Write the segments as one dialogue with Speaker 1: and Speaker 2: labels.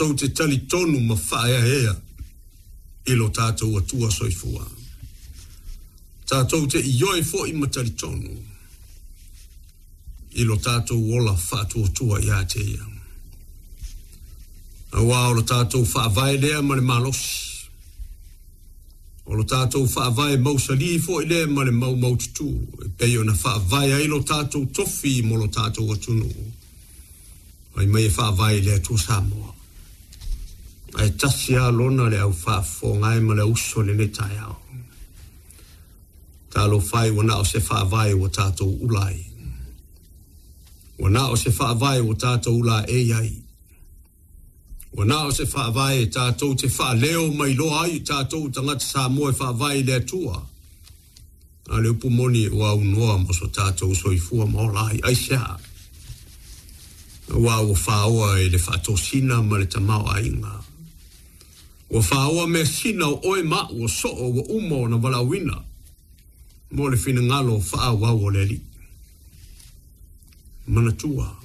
Speaker 1: Tatou te talitonu ma faaeaea i lo tatou Atua soifua. Tatou te ioe foi ma talitonu i lo tatou ola faatuatua ia te Ia. Auā o lo tatou faavae lea ma le malosi. O lo tatou faavae mausalī foi lea ma le maumaututū e pei ona faavae ai lo tatou tofi mo lo tatou atunuu. Fai mai e faavae i le Atua Samoa. Ae tasi lava lona le au faafofoga e ma le auso i lenei taeao. Talofa e ua na o se faavae ua tatou ula ai. Ua na o se faavae ua tatou ulaei ai. Ua na o se faavae tatou te faaleo ma iloa ai i tatou tagata Samoa e faavae i le Atua. A o le upu moni ua aunoa mo so tatou soifua ma ola ai. Aisea? Aua ua faoa i le faatosina ma le tamaoaiga. Ua faoa measina o oe ma au o soo ua uma ona valaauina mo le finagalo faaauau o le Alii. Manatua,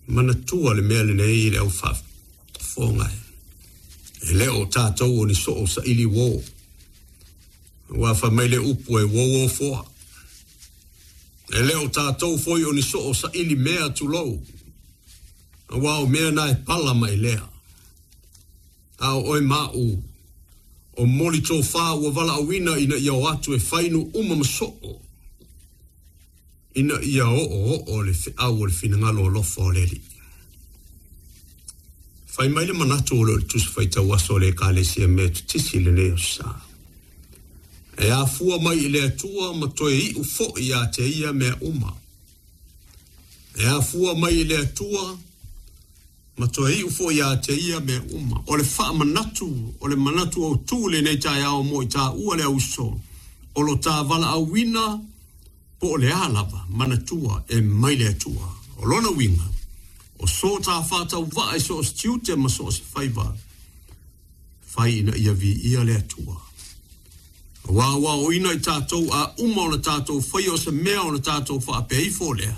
Speaker 1: manatua le mea lenei i le au faafofoga e. E le o tatou o ni soo saili uō. Aua fai mai le upu e uōuō foa. E le o tatou foi o ni soo saili mea tulou. Aua o mea na e pala ma e lea. A o oe ma au, o moli tofā ua valaauina ina ia o atu e fainu uma ma soo. Ina ia oooo le feau o le finagalo alofa o le Alii. Fai mai le manatu o lo o le Tusi Faitau Aso a le Ekalesia Metotisi i lenei aso sa. E afua mai i le Atua ma toe iu foi ia te ia mea uma. E afua mai i le Atua ma toe iu foi ia te ia mea uma. O le faamanatu, o le manatu autū i lenei taeao mo i tāua le auso, o lo tā valaauina po o le a lava, manatua e mai le Atua. O lona uiga, o so tā faatauvaa i so o se tiute ma so o se faiva, fai ina ia viia le Atua. Aua ua aoina i tatou a uma ona tatou faia o se mea ona tatou faapea ifo lea,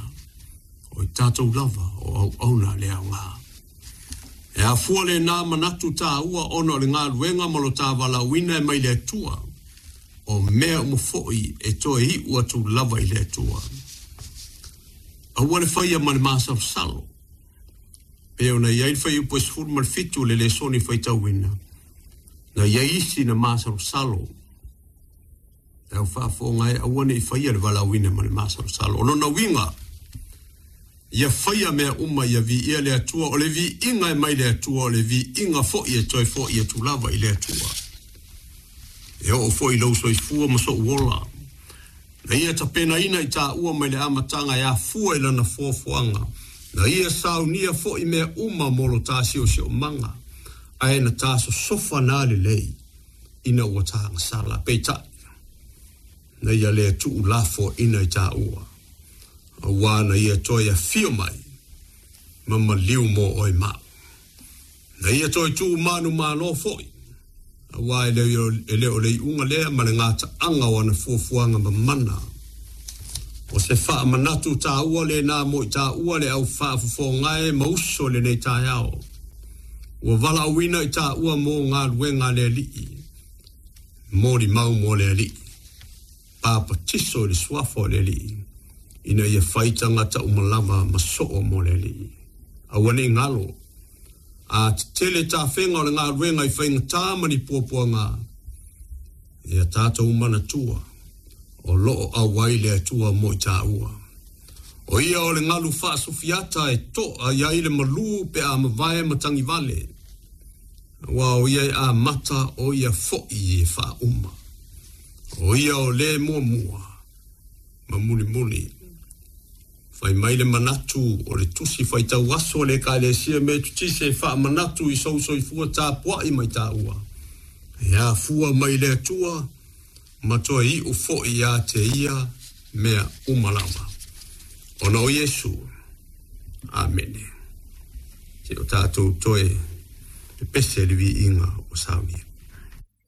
Speaker 1: o i tatou lava o auauna a le aoga. E afua lena manatu tāua ona o le galuega ma lo tā valaauina e mai le Atua, o mea uma foi e toe iu atu lava i le Atua. Aua le faia ma le masalosalo. Pei ona i ai le fuaiupu e 17 o le lesoni faitauina, na i ai isi na masalosalo. E au faafofoga e aua ne i faia le valaauina ma le masalosalo. O lona uiga, ia faia mea uma ia viia le Atua, o le viiga e mai le Atua, o le viiga foi e toe foi atu lava i le Atua. E oo foi i lou soifua ma sou ola. Na ia tapenaina i tāua mai le amataga e afua i lana foafoaga, na ia saunia foi mea uma mo lo tā siosiomaga, ae na tā sosofa na lelei ina ua tāgasala. Peitai, na ia le tuulafoaina i tāua, auā na ia toe afio mai ma maliu mo oe ma au. Na ia toe tuu manumalo foi, auā e le o le iuga lea ma le gataaga o ana fuafuaga mamana. O se faamanatu tāua lena mo i tāua le au faafofoga e ma uso i lenei taeao. Ua valaauina i tāua mo galuega a le Alii, molimau mo le Alii, papatiso i le suafa o le Alii, ina ia fai tagata uma lava ma soo mo le Alii. Aua ne i galo, a tetele tafega o le galuega i faigatā ma ni puapuaga, ia tatou manatua o lo o auai le Atua mo i tāua. O ia o le galu faasofiata e toa i ai le malū pe a mavae matagivale, aua o ia e amata, o ia foi e faauma. O ia o le muamua ma mulimuli. Fai mai le manatu o le Tusi Faitau Aso a le Ekalesia Metotisi e faamanatu i sou soifua tapuai mai tāua, e afua mai le Atua ma toe iu foi ia te ia mea uma lava. Ona o Iesu. Amene. Se o tatou toe pepese i le viiga o saunia.